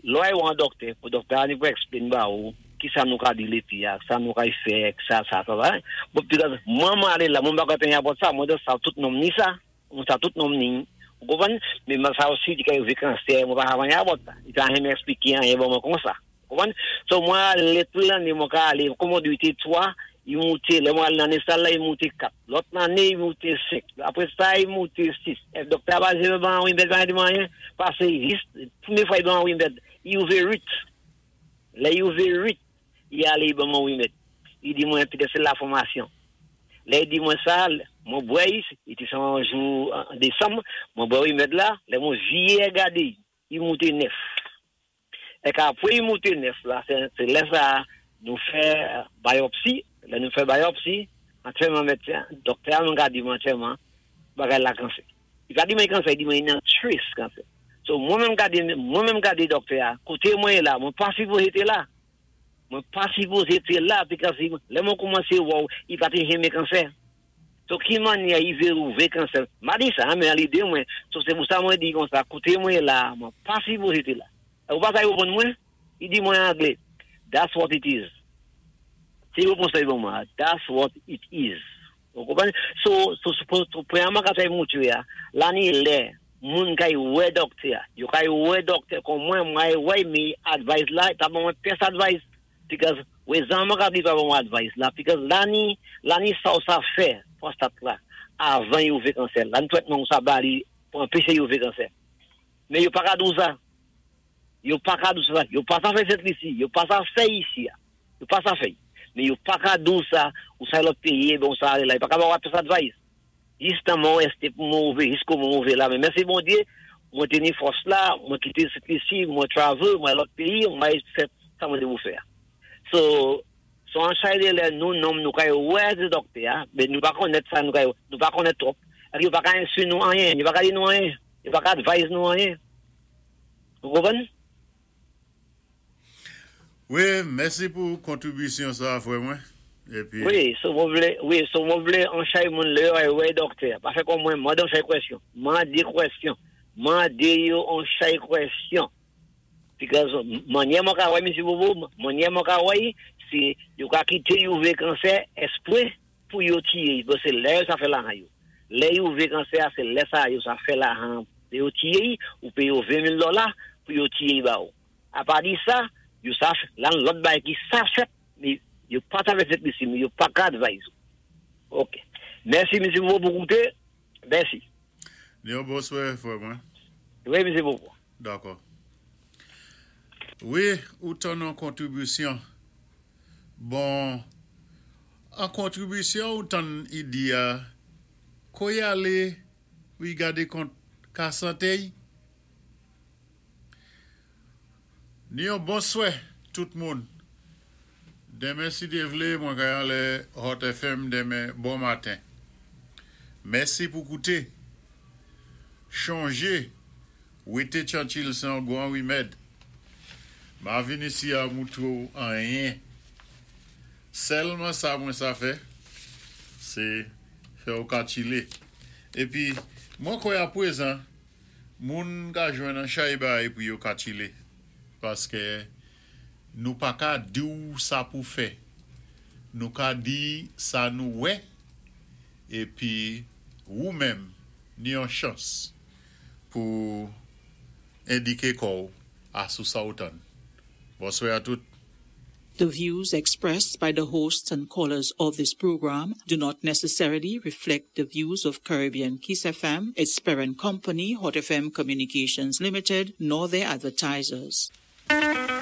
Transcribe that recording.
Lò ay wè an dòktè, pou dòktè a ni pou explain ba ou, ki sa nou ka di lépi a, sa nou ka fè, sa, sa, sa, sa. Bon, because mwen alé la, mwen pa ka tenyen about sa, mwen just sa tout nonm ni sa, mwen sa tout nonm ni, ou konpwann? Men mwen sa osi di ka yo ve kansè, mwen pa havan about sa. I ta renmen explike an, bon mwen kon sa. Konpwann? So mwen alé tout lanné, mwen ka alé, kòm di té 3, i mouté, lè mwen alé nan sal la, i mouté 4. Lòt lanné, i mouté 5. Apwé sa, i mouté 6. É dòktè a pa janmen ban wimèd, pa di mwen anyen, pasé jis, pwémyé fwa i ban wimèd, i ouvé 8. Lè i ouvé 8, i alé i ban mwen wimèd. I di mwen, petèt sé la fòmasyon. Lè i di mwen sa, mwen bwè, i té son jou an désanm, mwen bwè wimèd la, lè mwen viyé gadé, i mouté 9. É apwé i mouté 9 la, sé lè sa, nou fè biopsi, lè nou fè biopsi, antyèman médsen, dòktè a mwen ka di mwen antyèman, bagay la kansè. I pa di mwen kansè, i di mwen nan trace kansè. So mwen menm gadé, mwen menm gadé dòktè a, koté mwen la, mwen pa sipozé té la. Mwen pa sipozé té la, because lè mwen kòmansé wè, i pa té janmen kansè. So ki mannyè i vé ouvè kansè. Ma di sa, men an lidé mwen, so sé pou sa mwen di kon sa, koté mwen la, mwen pa sipozé té la. É ou pa sa yo reponn mwen? I di mwen an anglé, "That's what it is." Sé wépons sa yo mwen, "That's what it is." Ou konpwann? So, pwémyèman ka sa yi moutré ya, la ni lè, moun kay wè dòktè, yo kay wè dòktè kon mwen, mwen wè mi advice la, ta ban mwen pyès advice. Because wè zan mwen ka di pa ban mwen advice la, because la ni sa ou sa fè, prostate la, avan yo ouvé kansè. La ni trètman ou sa bali pou anpéché yo ouvé kansè. Men yo pa ka dou sa. Yo pa ka dou sa. Yo pa sa fè Sent Lisi, yo pa sa fè isi. Yo pa sa fè. Men yo pa ka dou sa, ou sa lòt péyi, bon sa la, yo pa ka ba ou pyès advice. Jis tan mwen résté pou mwen ouvé, jis kou mwen ouvé la. Men mèsi Bondyé, mwen té ni fòs la, mwen kité Sent Lisi, mwen travel, mwen lòt péyi, mwen fè sa mwen té pou fè. So an chay de lè nou nonm nou kay wè de dòktè, ya, men nou pa konnèt sa, nou kay, nou pa konnèt twòp. É yo pa ka enstwi nou anyen, yo pa ka di nou anyen, yo pa ka advise nou anyen. Ou konpwann? Wi, mèsi pou kontribisyon sa, frè mwen. Épi, Wi, so mwen vlé, wi, so mwen vlé an chay moun lè yo ay wè dòktè. Pa fè kon mwen, mandé an chay kwèsyon. Mandé kwèsyon. Mandé yo an chay kwèsyon. Because mannyè mwen ka wè, Msye Bobo, mannyè mwen ka wè, sé yo ka kité yo ouvè kansè espwé pou yo tiyé. Bon, sé lè yo sa fè lajan yo. Lè yo ouvè kansè, sé lè sa yo sa fè lajan. Lè yo tiyé, ou péyé yo 20 000 dola pou yo tiyé ba ou. Apa di sa, yo sa, lan lòt bagay ki sa fèt, men yo pa ta fè Sent Lisi, men yo pa ka advise. Ok. Mèsi, Msye Bobo, pou kouté. Mèsi. Yon bonswè, frè mwen. Wi, Msye Bobo. Dakò. Wi, ou tann an kontribisyon. Bon, an kontribisyon ou tann i di a, ko y alé, wi gadé kont ka santé y. Ni yon bonswè tout moun. Denmen si Dye vlé, mwen kay anlè Hot FM denmen bon maten. Mèsi pou kouté. Chonjé, wété tchantchil sé an gwan wimèd. Ma vin isi a moutré ou anyen. Sèlman sa mwen sa fè, sé fè ou ka tchilé. Épi, mwen kwè a pwézan, moun ka jwenn an chay bay pou yo ka tchilé. Paské nou pa ka di ou sa pou fè. Nou ka di sa nou wè, épi ou menm ni yon chans pou endiké kò ou a sou sa ou tann. Bonswè a tout. The views expressed by the hosts and callers of this program do not necessarily reflect the views of Caribbean Kiss FM, its parent company, Hot FM Communications Limited, nor their advertisers.